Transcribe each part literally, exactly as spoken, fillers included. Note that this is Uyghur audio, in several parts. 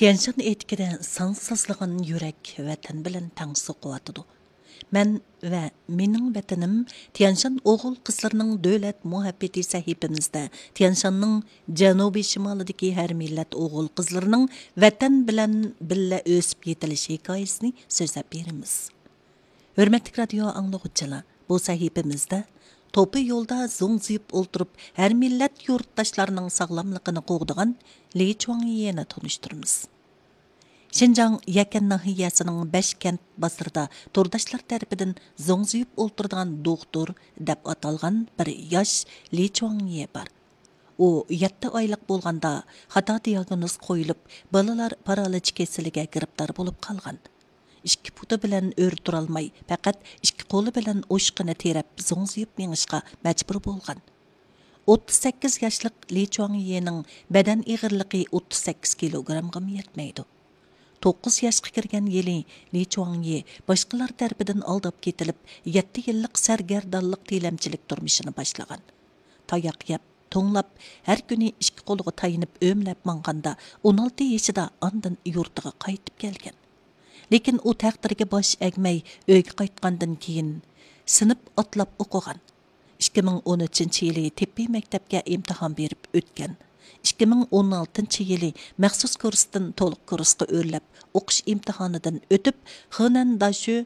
تيەنشان ئېتىكىدە سانسىزلىغان يۈرەك ۋەتەن بىلەن تەڭ سوقۇۋاتىدۇ. مەن ۋە مېنىڭ ۋەتىنىم تيەنشان ئوغۇل-قىزلىرىنىڭ دۆلەت مۇھەببىتى سەھىپىمىزدە تيەنشاننىڭ جەنۇبىي شىمالىدىكى ھەر مىللەت ئوغۇل-قىزلىرىنىڭ ۋەتەن بىلەن بىللە ئۆسۈپ يېتىلىش ھېكايىسىنى سۆزلەپ بېرىمىز. ھۆرمەتلىك رادىيو ئاڭلىغۇچىلار، بۇ سەھىپىمىزدە توپا يولدا زوڭزىيىپ ئولتۇرۇپ، ھەر مىللەت يۇرتداشلارنىڭ ساغلاملىقىنى قوغدىغان لى چۇاڭيېنى تونۇشتۇرىمىز. شىنجاڭ يەكەن ناھىيەسىنىڭ بەشكەنت بازىرىدا تورداشلار تەرىپىدىن زوڭزىيىپ ئولتۇرىدىغان دوختۇر دەپ ئاتالغان بىر ياش لى چۇاڭيې بار. ئۇ يەتتە ئايلىق بولغاندا خاتا دىياگنوز قويۇلۇپ، بالىلار پارالىچ كېسىلىگە گىرىپتار بولۇپ قالغان. ئىككى پۇتى بىلەن ئۆرە تۇرالماي، پەقەت ئىككى قولى بىلەن ئوشۇقىنى تىرەپ زوڭزىيىپ مېڭىشقا مەجبۇر بولغان. ئوتتۇز سەككىز ياشلىق لى چۇاڭيېنىڭ بەدەن ئېغىرلىقى ئوتتۇز سەككىز كىلوگرامغىمۇ يەتمەيدۇ. توققۇز ياشقا كىرگەن يىلى لى چۇاڭيې باشقىلار تەرىپىدىن ئالداپ كېتىلىپ، يەتتە يىللىق سەرگەردانلىق تىلەمچىلىك تۇرمۇشىنى باشلىغان. تاياق يەپ، توڭلاپ، ھەر كۈنى ئىككى قولىغا تايىنىپ ئۆمىلەپ ماڭغاندا، ئون ئالتە يېشىدا ئاندىن يۇرتىغا قايتىپ كەلگەن. لېكىن ئۇ تەقدىرگە باش ئەگمەي، ئۆيگە قايتقاندىن كېيىن، سىنىپ ئاتلاپ ئوقۇغان. ئىككى مىڭ ئون ئۈچىنچى يىلى تېببىي مەكتەپكە ئىمتىھان بېرىپ ئۆتكەن. ئىككى مىڭ ئون ئالتىنچى يىلى مەخسۇس كۇرستىن تولۇق كۇرسقا ئۆرلەپ، ئوقۇش ئىمتىھانىدىن ئۆتۈپ، خېنەن داشۆ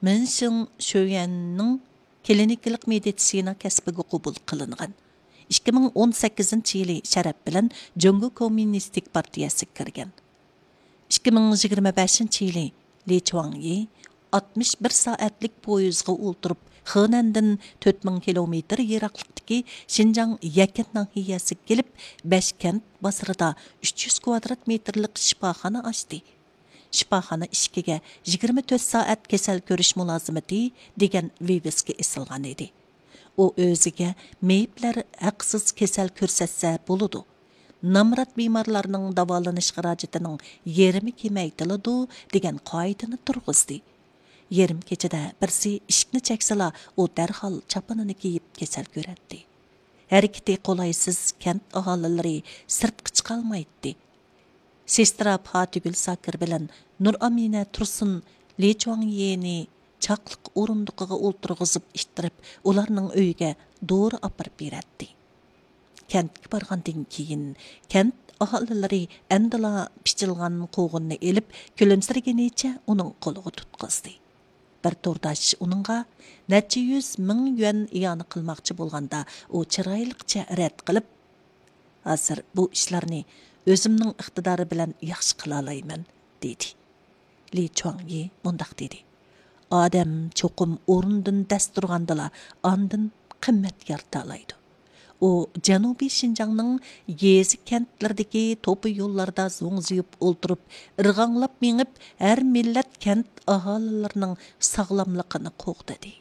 مىنشىڭ شۆيۈەننىڭ كلىنىكىلىق مېدىتسىنا كەسپىگە قوبۇل قىلىنغان. ئىككى مىڭ ئون سەككىزىنچى يىلى شەرەپ بىلەن جۇڭگو كوممۇنىستىك پارتىيەسىگە كىرگەن. ئىككى مىڭ يىگىرمە بەشىنچى يىلى لى چۇاڭيى ئاتمىش بىر سائەتلىك پويىزغا ئولتۇرۇپ، خېنەندىن تۆت مىڭ كىلومېتىر يىراقلىقتىكى شىنجاڭ يەكەن ناھىيەسىگە كېلىپ، بەشكەنت بازىرىدا ئۈچ يۈز كۋادرات مېتىرلىق شىپاخانا ئاچتى. شىپاخانا ئىشىكىگە «يىگىرمە تۆت سائەت كېسەل كۆرۈش مۇلازىمىتى» دېگەن ۋىۋىسكا ئېسىلغان ئىدى. ئۇ ئۆزىگە مېيىپلەر ھەقسىز كېسەل كۆرسەتسە بولىدۇ، نامرات بىمارلارنىڭ داۋالىنىش خىراجىتىنىڭ يېرىمى كېمەيتىلىدۇ دېگەن قائىدىنى تۇرغۇزدى. يېرىم كېچىدە بىرسى ئىشىكنى چەكسىلا، ئۇ دەرھال چاپىنىنى كىيىپ كېسەل كۆرەتتى. ھەرىكىتى قولايسىز كەنت ئاھالىلىرى سىرتقا چىقالمايتتى. سېسترا پاتىگۈل ساكىر بىلەن نۇرئامىنە تۇرسۇن لى چۇاڭيېنى چاقلىق ئورۇندۇقىغا ئولتۇرغۇزۇپ ئىتتىرىپ، ئۇلارنىڭ ئۆيىگە دورا ئاپىرىپ بېرەتتى. كەنتكە بارغاندىن كېيىن، كەنت ئاھالىلىرى ئەمدىلا پىچىلغان قوغۇننى ئېلىپ، كۈلۈمسىرىگىنىچە ئۇنىڭ قولىغا تۇتقۇزدى. بىر تورداش ئۇنىڭغا نەچچە يۈز مىڭ يۈەن ئىئانە قىلماقچى بولغاندا، ئۇ چىرايلىقچە رەت قىلىپ، «ھازىر بۇ ئىشلارنى ئۆزۈمنىڭ ئىقتىدارى بىلەن ياخشى قىلالايمەن» دېدى. لى چۇاڭيى مۇنداق دېدى: «ئادەم چوقۇم ئورنىدىن دەس تۇرغاندىلا ئاندىن قىممەت يارىتالايدۇ.» ئۇ جەنۇبىي شىنجاڭنىڭ يېزا كەنتلىرىدىكى توپا يوللاردا زوڭزىيىپ ئولتۇرۇپ، ئىرغاڭلاپ مېڭىپ، ھەر مىللەت كەنت ئاھالىلىرىنىڭ ساغلاملىقىنى قوغدىدى.